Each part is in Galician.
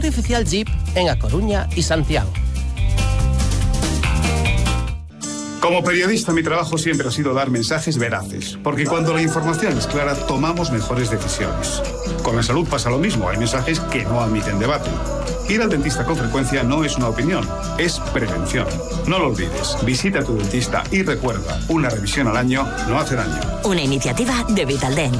Oficial Jeep en A Coruña y Santiago. Como periodista, mi trabajo siempre ha sido dar mensajes veraces, porque cuando la información es clara, tomamos mejores decisiones. Con la salud pasa lo mismo, hay mensajes que no admiten debate. Ir al dentista con frecuencia no es una opinión, es prevención. No lo olvides, visita a tu dentista y recuerda, una revisión al año no hace daño. Una iniciativa de Vitaldent.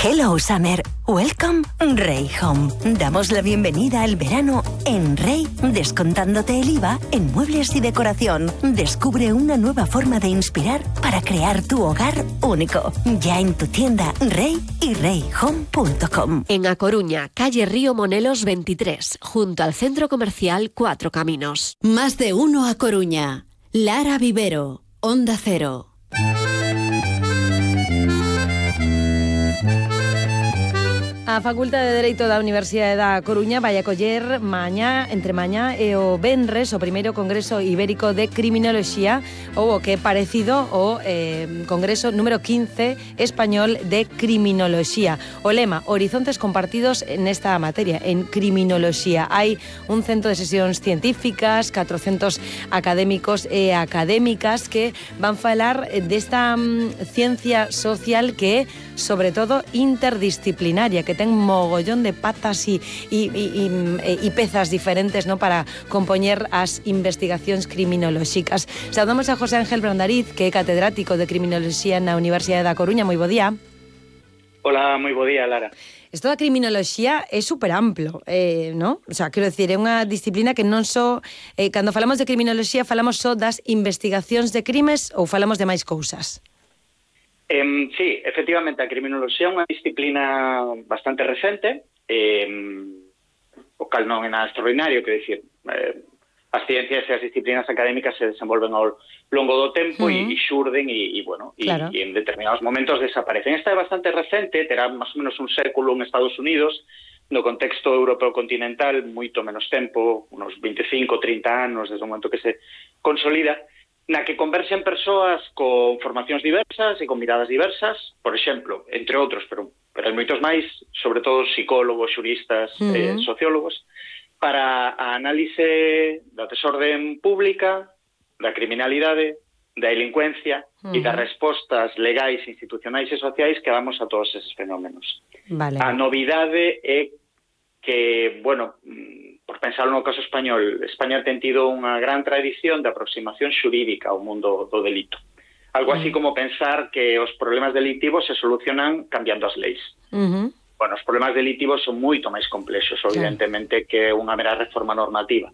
Hello Summer, welcome Rey Home. Damos la bienvenida al verano en Rey, descontándote el IVA en muebles y decoración. Descubre una nueva forma de inspirar para crear tu hogar único. Ya en tu tienda Rey y reyhome.com. En A Coruña, calle Río Monelos 23, junto al Centro Comercial Cuatro Caminos. Más de uno A Coruña. Lara Vivero, Onda Cero. A Facultade de Dereito da Universidade da Coruña vai acoller entre mañá e o venres o primeiro Congreso Ibérico de Criminoloxía, ou o que é parecido ao Congreso número 15 Español de Criminoloxía. O lema, horizontes compartidos nesta materia, en criminoloxía. Hai un centro de sesións científicas, 400 académicos e académicas que van falar desta ciencia social que é, sobre todo, interdisciplinaria, que ten mogollón de patas e pezas diferentes, ¿no?, para compoñer as investigacións criminolóxicas. Saudamos a José Ángel Brandariz, que é catedrático de Criminoloxía na Universidade da Coruña. Moi bo día. Hola, moi bo día, Lara. Isto da criminoloxía é super amplo, ¿no? O sea, quero dicir, é unha disciplina que non só, cando falamos de criminoloxía, falamos só das investigacións de crimes ou falamos de máis cousas? Sí, efectivamente, a criminoloxía é unha disciplina bastante recente, o cal non é nada extraordinario, que decir, as ciencias e as disciplinas académicas se desenvolven ao longo do tempo e xurden bueno, claro. E en determinados momentos desaparecen. Esta é bastante recente, terá máis ou menos un século en Estados Unidos, no contexto europeo continental, moito menos tempo, unos 25, 30 anos desde o momento que se consolida, na que converxen persoas con formacións diversas e con miradas diversas, por exemplo, entre outros, pero hai moitos máis, sobre todo psicólogos, xuristas, sociólogos, para a análise da desorden pública, da criminalidade, da delincuencia e das respostas legais, institucionais e sociais que damos a todos eses fenómenos. Vale. A novidade é que, bueno, por pensar no caso español, España ten tido unha gran tradición de aproximación xurídica ao mundo do delito. Algo así como pensar que os problemas delictivos se solucionan cambiando as leis. Bueno, os problemas delictivos son moito máis complexos, evidentemente, que unha mera reforma normativa.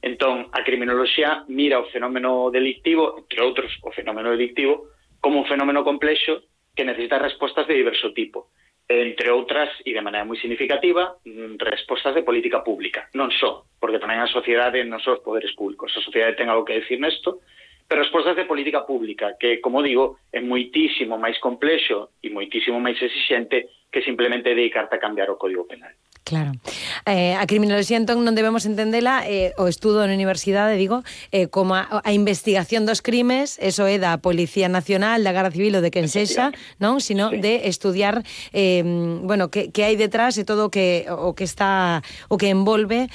Entón, a criminoloxía mira o fenómeno delictivo, entre outros, o fenómeno delictivo, como un fenómeno complexo que necesita respostas de diverso tipo. Entre outras, e de maneira moi significativa, respostas de política pública. Non só, porque tamén a sociedade non só os poderes públicos. A sociedade ten algo que decir nesto, pero respostas de política pública, que, como digo, é moitísimo máis complexo e moitísimo máis exixente que simplemente dedicarte a cambiar o Código Penal. Claro. A criminoloxía, entón, non debemos entendela, o estudo na universidade, digo, como a investigación dos crimes, eso é da Policía Nacional, da Garda Civil ou de quen sexa, non? Sino de estudiar, bueno, que hai detrás e todo o que envolve,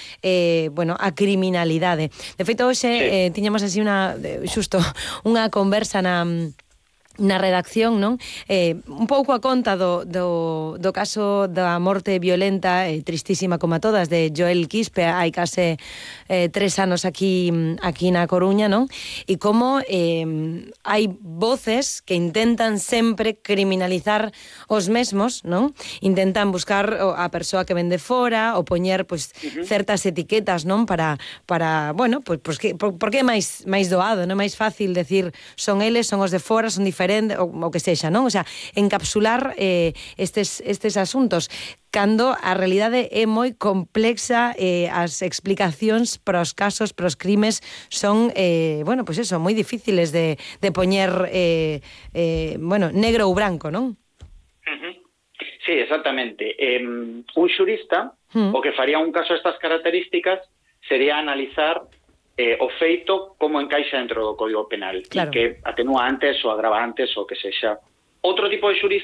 bueno, a criminalidade. De feito, hoxe tiñamos así xusto unha conversa na redacción, non? Un pouco a conta do caso da morte violenta tristísima como a todas de Joel Quispe hai case 3 anos aquí na Coruña, non? E como hai voces que intentan sempre criminalizar os mesmos, non? Intentan buscar a persoa que ven de fora ou poñer certas etiquetas, non? Para bueno, porque é máis doado, non é máis fácil decir son eles, son os de fora, son diferentes, o que sexa, non? O sea, encapsular estes asuntos, cando a realidade é moi complexa, as explicacións para os casos, para os crimes son, bueno, pois eso, moi difíciles de poñer, bueno, negro ou branco, non? Sí, exactamente. Un xurista, o que faría un caso a estas características sería analizar o feito como encaixa dentro do Código Penal, claro, e que atenúa antes ou agrava antes ou que sexa. Outro tipo de xurista